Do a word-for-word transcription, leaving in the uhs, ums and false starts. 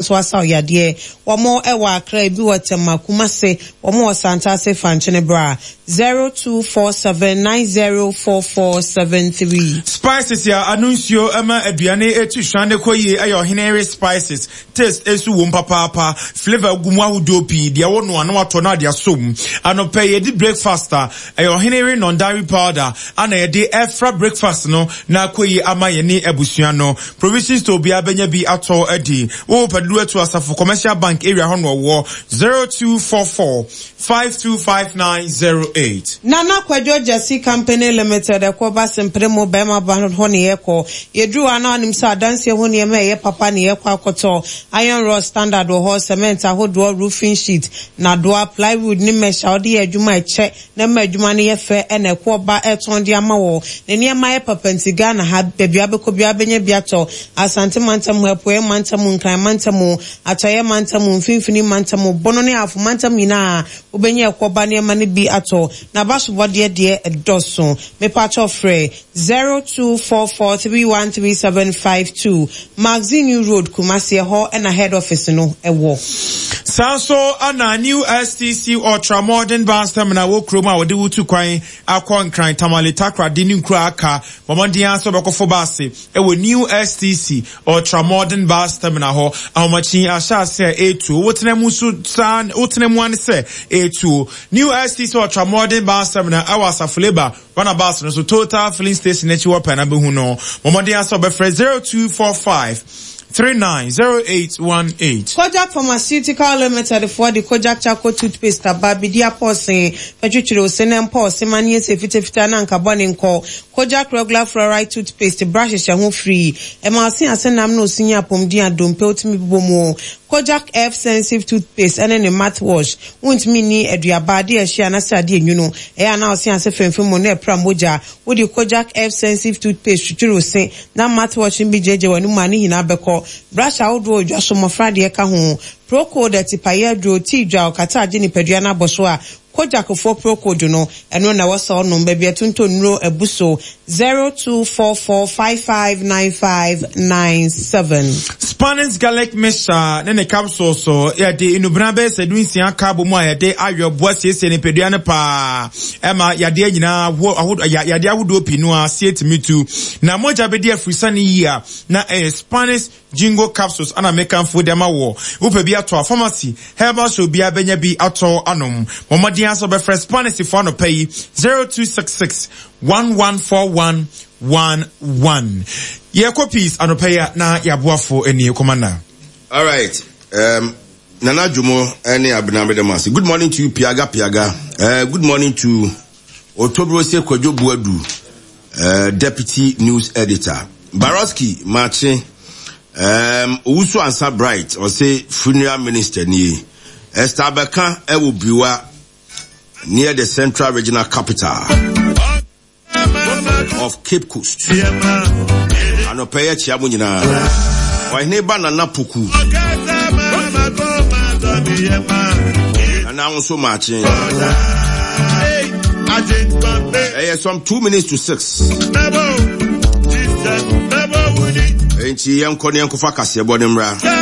So asa yadeɛ. Wɔn wɔ Accra, ebi wɔ Tema, Kumase, wɔn wɔ Santase. Fankyene bra, zero two four seven nine zero four four seven three. Spices a ano nsuo ma aduane etu hwan ne kɔ yie ɛyɛ Ɔhene Spices. Taste esu wɔm papaapa, flavour gu mu ahodoɔ pii. Deɛ wɔ no ano atɔ no ade asom. Anɔpɛ yɛdi breakfast a, ɛyɛ Ɔhene non-dairy powder ana yɛde ɛfra breakfast no na akɔ yie ama yɛne abusua no. Provision store biara bɛnya bi atɔ adi. Wɔwɔ pɛdudu atu Asafo Commercial Bank area hɔ no ɔwɔ zero two four four five two five nine zero eight. Nana Kwadwo Gyasi Company Limited ɛkɔ ba sempere mu bɛrima ba hɔ ne yɛkɔ. Yɛduru hɔ a, na ɔnim sɛ adanseɛ ho nneɛma a ɛyɛ papa ne yɛkɔ akɔtɔ. Iron rod standard wɔ hɔ, cement ahodoɔ, roofing sheet, nadoa, plywood ne mesh a wɔde yɛ adwuma ɛkyɛ na ma adwuma no yɛ fɛ, ɛna ɛkɔ ba ɛtɔn de ama wɔ. Ne nneɛma yɛ papa nti Ghana ha, baabi abɛkɔ bi abɛnya bi atɔ. Asante mantam, Apueɛ mantam, Nkran mantam, Atɔeɛ mantam, Mfimfini mantam, Bono ne Afo mantam nyinaa, wobɛnya ɛkɔ ba nneɛma no bi atɔ. Na abasobɔdeɛ deɛ ɛdɔso. Mepatɔ frɛ zero two four four three one three seven five two. Magazine New Road, Kumasi, ɛhɔ ɛna head office no ɛwɔ. Saa nso ana New S T C Ultra Modern Bus Terminal wɔ kurom a wɔde wotu kwan akɔ Nkran, Tamale, Takoradi ne nkuro aka. Bɔmmɔden ara sɛ wɔbɛkɔfo baase ɛwɔ New S T C Ultra Modern Bus Terminal hɔ. Ahomakyin ahyɛ ase a ɛretuo, wotena mu nso saa, wotena mu ane sɛ ɛretuo. New S T C Ultra Modern Bus Terminal ɛwɔ Asafo Labour bus no so, Total Filling Station akyi wɔ pɛn na bɛhu no. Bɔmmɔden ara sɛ wɔbɛfrɛ zero two four five three nine zero eight one eight. Kojak Pharmaceutical Limited foɔ de Kojak Charcoal Toothpaste aba. Bidi apɔsen fɛtwitwiri ose ne mpa ɔse ma ne yɛ fitafita na nka bɔ ne nkɔ. Kojak Regular Fluoride Toothpaste, brush hyehyɛ ho free, ɛma ɔse ase nam na osi nye apɔmuden adompe otumi bobɔ mu. Kojak F Sensitive Toothpaste ɛne ne mouthwash, wontumi ni aduaba adeɛ ɛhyɛ anasɛ adeɛ nwunu ɛyɛ ana ɔse ase fɛmfɛm mu na ɛpra mogya. Wode Kojak F Sensitive Toothpaste twitwiri ose na mouthwash no bi gyegye w'anum a, ne nyinaa bɛkɔ. Brush ahodoɔ odwa so, mmɔfra deɛ ka ho. Procold, atipayɛ aduro, tii dwa ɔkata agye nipadua no abɔ so a, Kojakfoɔ Procold no, ɛno na wɔsɛ ɔnom. Baabi ɛtontɔ nnuro abu so, zero two four four five five nine five nine seven. Spanish Garlic Mixture ne ne capsule so, yɛde nnubena bɛyɛ sɛ du nsia ka bɔ mu a yɛde ayɔ boa siesie nipadua no paa, ɛma yadeɛ nyinaa yadeɛ ahodoɔ pii no a sie tumi tu na mogya bɛdi afirisa no yie a, na ɛyɛ Spanish Jingo Capsules ana mekamfo de ama wɔ. Wopɛ bi atɔ a, pharmacy, herbal shop biara bɛnya bi atɔ anom. Mmɔmmɔden aso bɛfrɛ Spanish fo anɔpa yi, zero two six six one one four one one one. Yɛkɔ peace anɔpa yi a na yɛaboafo ani kɔmanda. All right. Um, Nana Jumo ɛne Abena Medemase. Good morning to you, Piaga Piaga. Uh, good morning to Otobrose Kwadwo Buadu, uh, Deputy News Editor. Baroski Mache, um, Owusu Ansa Bright, ɔse funeral minister nie. Esther Abeka ɛwɔ Briwa, near the Central Regional Capital of Cape Coast. Anɔpɛ yɛ kyia mo nyinaa. Ɔhene ba Nana Poku. Nana nso maakye. Ɛyɛ some two minutes to six. Nti yɛnkɔ ne yɛnkɔfa kaseɛbɔ ne mmra.